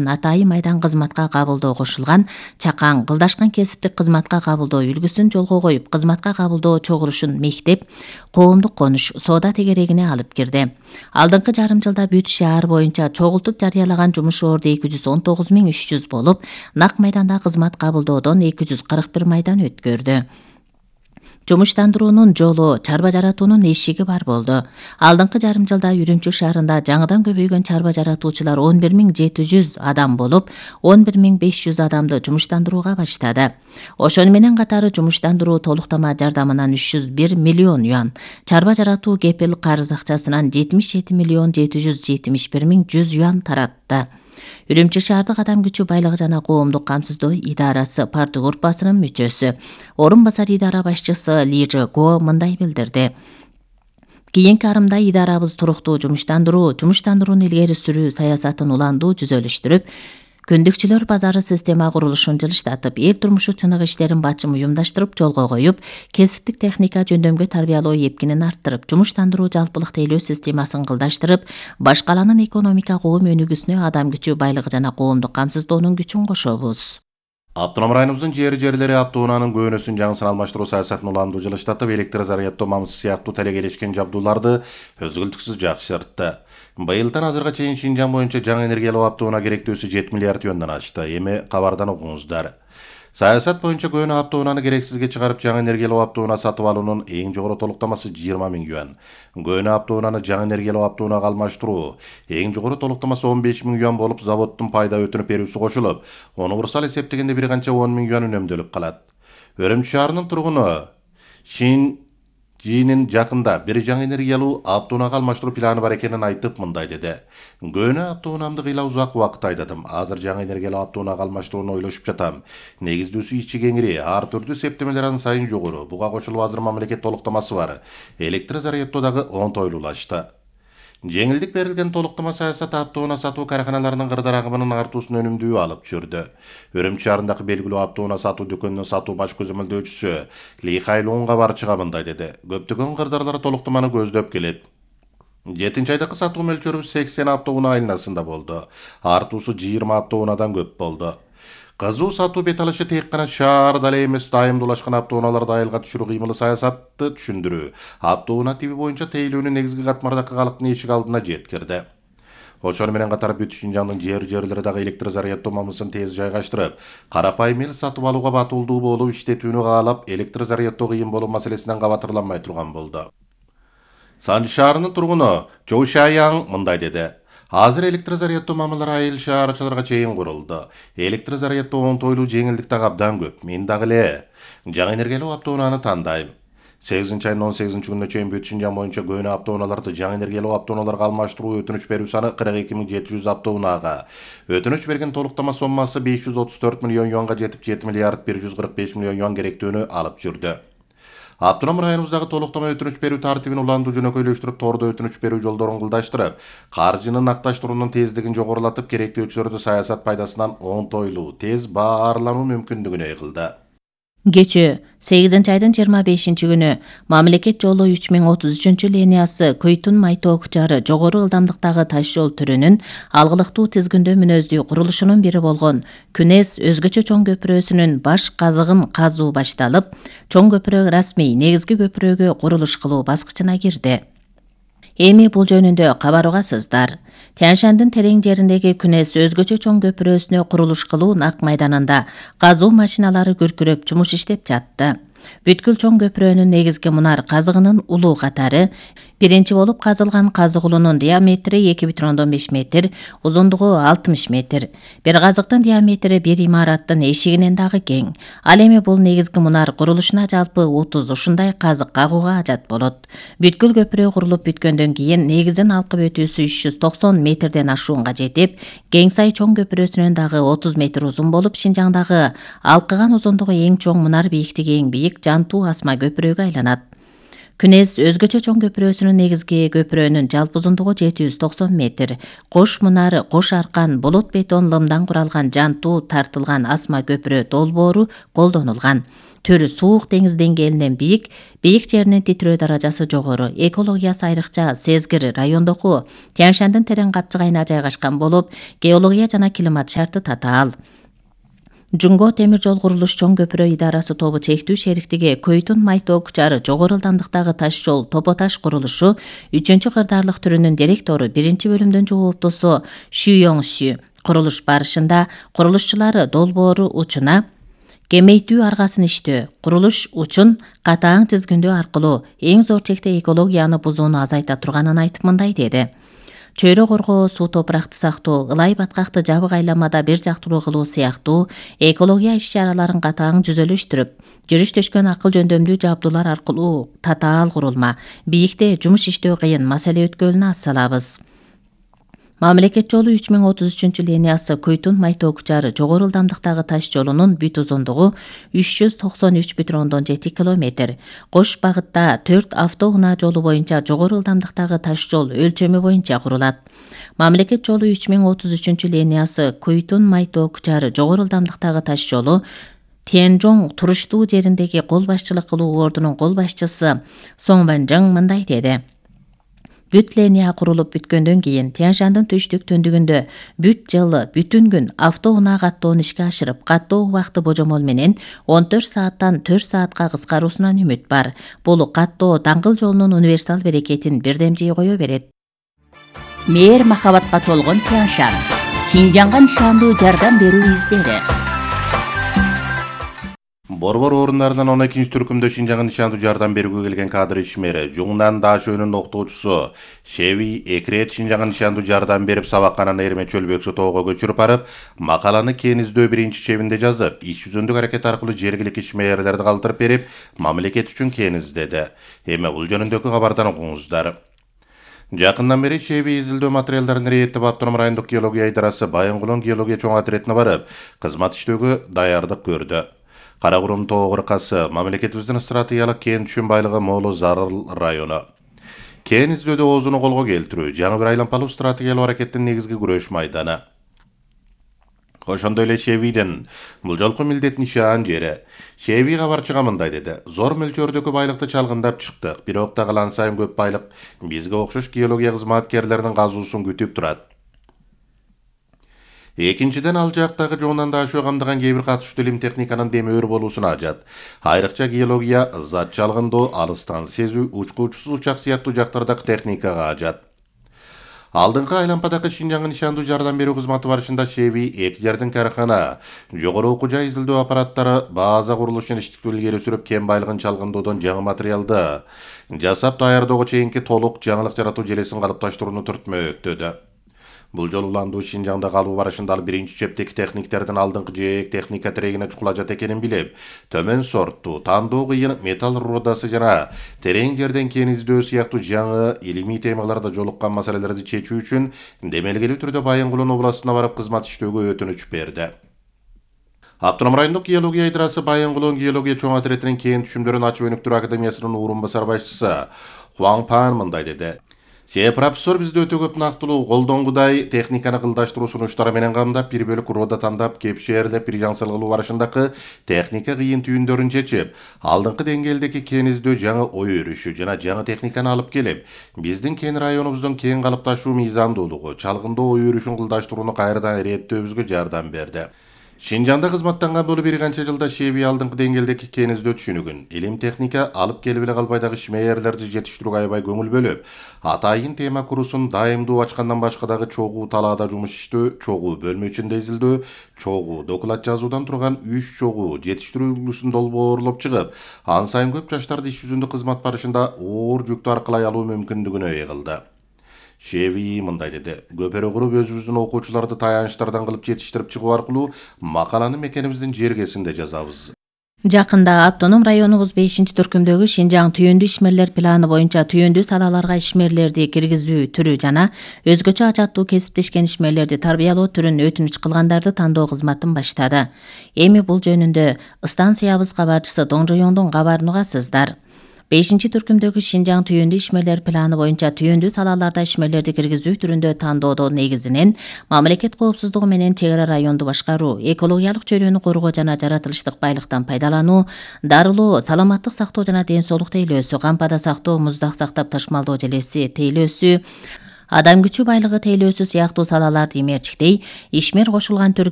Атайы майдан кызматка кабылдоо кошулган, чакаң кылдашкан кесиптик кызматка кабылдоо үлгүсүн жолго коюп, кызматка кабылдоо чогулушун мектеп, коомдук конуш, соода тегерегине алып кирди. Алдыңкы жарым жылда бүт шаар боюнча чогултуп жарыялаган жумуш орду 219.300 болуп, нак майданда кызмат кабылдоодон 241 майдан өткөрдү. Жумуштандыруунун жолу, чарба жаратуунун эшиги бар болду. Алдыңкы жарым жылда Үрүмчү шаарында жаңыдан көбөйгөн чарба жаратуучулар 11.700 адам болуп, 11.500 адамды жумуштандырууга баштады. Ошону менен катары жумуштандыруу толуктама жардамынан 301 миллион юан, чарба жаратуу кепил карыз акчасынан 77.771.100 юан таратты. Үрүмчү шаардык адам күчү байлыгы жана коомдук камсыздоо идарасы парты группасынын мүчөсү, орун басар идара башчысы Лижи Го мындай билдирди. Кийинки арымда идарабыз туруктуу жумуштандырууну илгери сүрүү саясатын уландуу түзөлүштүрүп, күндүкчүлөр базары система курулушун жылыштатып, эл турмушу чыныгы иштерин бачым уюмдаштырып жолго коюп, кесиптик техника жөндөмгө тарбиялоо эпкинин арттырып, жумуштандыруу жалпылык тейлөө системасын кылдаштырып, баш каланын экономика коом өнүгүүсүнө адам күчү байлыгы жана коомдук камсыздоонун күчүн кошобуз. Автоном районубуздун жери-жерлери автоунаанын көөнөсүн жаңысын алмаштыруу саясатын уландуу жылыштатып, электр заряддоо мамысы сыяктуу талегелешкен жабдууларды өзгөлтүксүз жакшыртты. Быйылдан азырга чейин Шинжаң боюнча жаңы энергиялуу автоунаа керектөөсү 7 миллиард юандан ашты. Эми кабардан окуңуздар. Саясат боюнча көөнө автоунааны керексизге чыгарып, жаңы энергиялуу автоунаа сатып алуунун эң жогору толуктамасы 20 000 юан. Көөнө автоунааны жаңы энергиялуу автоунаага алмаштыруу эң жогору толуктамасы 15 000 юан болуп, заводдун пайда өтүнүп берүүсү кошулуп, универсал эсептегенде бир канча 10 000 юан үнөмдөлүп калат. Үрүмчү шаарынын тургуну Жинин жакында бир жаңы энергиялуу автоунаага алмаштыруу планы бар экенин айтып мындай деди. Көөнө автоунаамды кыйла узак убакыт айдадым. Азыр жаңы энергиялуу автоунаага алмаштырууну ойлошуп жатам. Негиздүүсү ичи кеңири, ар түрдүү септемелер аны сайын жогору. Буга кошулуп азыр мамлекет толуктамасы бар. Электр заряддоо дагы оңтойлуулашты. Жеңилдик берилген толуктама саясаты автоунаа сатуу карканаларынын кырдаал агымынын артуусун өнүмдүү алып жүрдү. Үрүмчү шаарындагы белгилүү автоунаа сатуу дүкөнүнүн сатуу баш көзөмөлдөөчүсү Ли Хайлунга барчыга мындай деди. Көптөгөн кырдаалдар толуктаманы көздөп келет. 7-айдагы сатуу мөлчөрүбүз 80 автоунаа айланасында болду. Артуусу 20 автоунаадан көп болду. Кызуу сатуу бет алышы тек гана шаарда эле эмес, дайымдуулашкан автоунааларды айылга түшүрүү кыймылы саясатты түшүндүрүү. Автоунаа тиби боюнча тейлөөнүн негизги катмардагы калктын эшик алдына жеткирди. Ошону менен катары бүт Шинжаңдын жери-жерлери дагы электр заряддоо мамысын тез жайгаштырып, карапайым эл сатып алууга батылдуу болуп иштетүүнү каалап, электр заряддоо кыйын болуу маселесинен кабатырланбай турган болду. Санжы шаарынын тургуну Чоу Шаяң мындай деди. Азыр электр заряддоо мамылары айыл шаарчыларга чейин курулду. Электр заряддоо оңтойлуу, жеңилдик дагы абдан көп. Мен дагы эле жаңы энергиялуу автоунааны тандайм. 8-айдын 18-күнүнө чейин бүт Шинжаң боюнча көөнө автоунааларды жаңы энергиялуу автоунааларга алмаштыруу өтүнүч берүү саны 42.700 автоунаага. Өтүнүч берген толуктама соммасы 534 миллион юанга жетип, 7 миллиард 145 миллион юан керектүүнү алып жүрдү. Автоном районубуздагы толуктама өтүнүч берүү тартибин уландуу жөнөкөйлөштүрүп, тордо өтүнүч берүү жолдорун кылдаштырып, каржынын акташтыруунун тездигин жогорулатып, керектөөчүлөрдү саясат пайдасынан оңтойлуу, тез баарлануу мүмкүндүгүнө кылды. Кечээ 8-айдын 25-күнү мамлекет жолу 3033 линиясы Көйтүн-Майтоо кучары жогору ылдамдыктагы таш жол түрүнүн алгылыктуу тизгиндөө мүнөздүү курулушунун бири болгон Күнес өзгөчө чоң көпүрөсүнүн баш казыгын казуу башталып, чоң көпүрө расмий негизги көпүрөгө курулуш кылуу баскычына кирди. Эми бул жөнүндө кабар угасыздар. Тянь-Шандын терең жериндеги Күнес өзгөчө чоң көпүрөсүнө курулуш кылуу нак майданында казуу машиналары күркүрөп жумуш иштеп жатты. Бүткүл чоң көпүрөнүн негизги мунар казыгынын улуу катары биринчи болуп казылган казык улунун диаметри 2,5 метр, узундугу 60 метр. Бир казыктын диаметри бир имараттын эшигинен дагы кең. Ал эми бул негизги мунар курулушуна жалпы 30 ушундай казык кагууга ажат болот. Бүткүл көпүрө курулуп бүткөндөн кийин негизин алкып өтүүсү 390 метрден ашуунга жетип, Кеңсай чоң көпүрөсүнөн дагы 30 метр узун болуп, Шинжаңдагы алкыган узундугу эң чоң мунар, бийликтиги эң бийик Жантуу асма көпүрөгө айланат. Күнес өзгөчө чоң көпүрөсүнүн негизги көпүрөнүн жалпы узундугу 790 метр. Кош мунар, кош аркан, болот бетон лымдан куралган Жантуу тартылган асма көпүрө долбоору колдонулган. Түрү суук деңиз деңгээлинен бийик жеринин титирөө даражасы жогору, экологиясы айрыкча сезгир райондогу Тянь-Шандын терең капчыгайына жайгашкан болуп, геология жана климат шарты татаал. Жунго темир жол курулуш чоң көпүрө идарасы тобу чектүү шериктиги Көйтүн Майтоо Кучары жогору ылдамдыктагы таш жол Топо-таш курулушу 3 кырдаарлык түрүнүн директору 1-бөлүмдүн жооптусу Шү Йоңшү курулуш барышында курулушчулары долбоору учуна кемейтүү аргасын иштөө, курулуш учун катаң тизгиндөө аркылуу эң зор чекте экологияны бузууну азайта турганын айтып мындай деди. Чөйрө коргоо, суу топуракты сактоо, ылай баткакты жабык айламада бир жактылуу кылуу сыяктуу экология иш-чараларын катаң жүзөлөштүрүп, жүрүш-төшкөн акыл жөндөмдүү жабдуулар аркылуу татаал курулма, бийикте жумуш иштөө кыйын маселе өткөлүнө ас салабыз. Мамлекет жолу 3033 линиясы Көйтүн Майтоо Кучары жогору ылдамдыктагы таш жолунун бүт узундугу 393,7 км. Кош багытта 4 автоунаа жолу боюнча жогору ылдамдыктагы таш жол өлчөмү боюнча курулат. Мамлекет жолу 3033 линиясы Көйтүн Майтоо Кучары жогору ылдамдыктагы таш жолу Тяньжоң туруштуу жериндеги кол башчылык кылуу ордунун кол башчысы Соң Ванжың мындай деди. Бүт линия курулуп бүткөндөн кийин Тянь-Шандын түштүк төндүгүндө бүт жылы бүтүн күн автоунаа каттоону ишке ашырып, каттоо убакыты божомол менен 14 сааттан 4 саатка кыскаруусунан үмүт бар. Бул каттоо даңгыл жолунун универсал берекетин бирдемжей кое берет. Мээр махабатка толгон Тянь-Шань. Шинжаңга нышандуу жардам берүү издери. Борбор орундарынан 12 түркүмдө Шинжаңга нышандуу жардам берүүгө келген кадр ишмери Жуңнан Дашөөнүн окутуучусу Шеви Экрет Шинжаңга нышандуу жардам берип сабакканан Эрме Чөлбөксө тоого көчүрүп барып, макаланы Кен издөө 1-чебинде жазып, иш жүзүндүк аракет аркылуу жергиликтүү ишмерлерди калтырып берип, мамлекет үчүн Кен издеди. Эми бул жөнүндөгү кабардан окуңуздар. Жакындан бери Шеви изилдөө материалдарын рейеттеп Автоном райондук геология идарасы Байынгулон геология чоң отрядына барып, кызмат иштөөгө даярдык көрдү. Каракурум тоо кыркасы мамлекетибиздин стратегиялык кен түшүн байлыгы молу зарыл району. Кен издөөдө оозуну колго келтирүү жаңы бир айлампалуу стратегиялык аракеттин негизги күрөш майданы. Ошондой эле Шевиден бул жолку милдет нишан жери. Шеви кабарчыга мындай деди. Зор мөлчөрдөгү байлыкты чалгындап чыктык. Бирок да калан сайын көп байлык бизге окшош геология кызматкерлеринин казуусун күтүп турат. Экинчиден ал жактагы Жуңнан Дашөө камдаган кээ бир катышуу илим техниканын демөөр болуусуна ажат. Айрыкча геология, зат чалгындоо, алыстан сезүү, учкуучусуз учак сыяктуу жактардагы техникага ажат. Алдыңкы айлампадагы Шинжаңга нышандуу жардам берүү кызматы барышында Шеви 2 жердин карахана, жогору окуу жай изилдөө аппараттары, база курулушун иштиктүү илгери сүрүп, кен байлыгын чалгындоодон жаңы материалды жасап даярдоого чейинки толук жаңылык жаратуу желесин калыпташтырууну түртмөктөдү. Бул жолу уландуу Шинжаңда калуу барышында ал 1-чептеги техниктердин алдыңкы жээк техника терегине чукулажат экенин билип, төмөн сорттуу, тандоо кыйын металл рудасы жана терең жерден кен издөө сыяктуу жаңы илимий темаларда жолуккан маселелерди чечүү үчүн демелгелүү түрдө Байынгулон областына барып кызмат иштөөгө өтүнүч берди. Автоном райондук геология идарасы Байынгулон геология чоң отрядынын кен түшүмдөрүн ачып өнүктүрүү академиясынын орун басар башчысы Хуаң Пан мындай деди. Профессор бизди өтө көп нактылуу колдонгудай техниканы кылдаштыруу сунуштары менен камдап, бир бөлүк рода тандап, кепшээрлеп, бир жаңсал кылуу барышындагы техника кыйын түйүндөрүн чечип, алдыңкы деңгээлдеги кен издөө жаңы ой өрүшү жана жаңы техниканы алып келип, биздин кен районубуздун кен калыпташуу мыйзамдуулугу, чалгындоо ой өрүшүн кылдаштырууну кайрадан иреттөөбүзгө жардам берди. Шинжаңда кызматтанган болуп бир канча жылда Шеви алдыңкы деңгээлдеги кен издөө түшүнүгүн, илим техника алып келип эле калбай дагы ишмерлерди жетиштирүүгө аябай көңүл бөлүп, атайын тема курусун дайымдуу ачкандан башка дагы чогуу талаада жумуш иштөө, чогуу бөлмө ичинде изилдөө, чогуу доклад жазуудан турган 3 чогуу жетиштирүү үлгүсүн долбоорлоп чыгып, ан сайын көп жаштарды иш жүзүндө кызмат барышында оор жүктү аркылай алуу мүмкүндүгүнө ээ кылды. Шеви мындай деди. Көпөрө куруп өзүбүздүн окуучуларды таянычтардан кылып жетиштирип чыгуу аркылуу макаланы мекенибиздин жергесинде жазабыз. Жакында Автоном районубуз 5-түркүмдөгү Шинжаң түйүндүү ишмерлер планы боюнча түйүндүү салаларга ишмерлерди киргизүү түрү жана өзгөчө ажаттуу кесиптешкен ишмерлерди тарбиялоо түрүн өтүнүч кылгандарды тандоо кызматын баштады. Эми бул жөнүндө станциябыз кабарчысы Доңжоёңдун кабарын угасыздар. 5-түркүмдөгү Шинжаң түйүндүү ишмерлер планы боюнча түйүндүү салаларда ишмерлерди киргизүү түрүндө тандоодо негизинен мамлекет коопсуздугу менен чек ара районду башкаруу, экологиялык чөйрөнү коргоо жана жаратылыштык байлыктан пайдалануу, дарылоо, саламаттык сактоо жана ден соолук тейлөөсү, кампада сактоо, муздак сактап ташмалдоо желеси тейлөөсү, адам күчү байлыгы тейлөөсү сыяктуу салаларды имерчиктей, ишмер кошулган түркү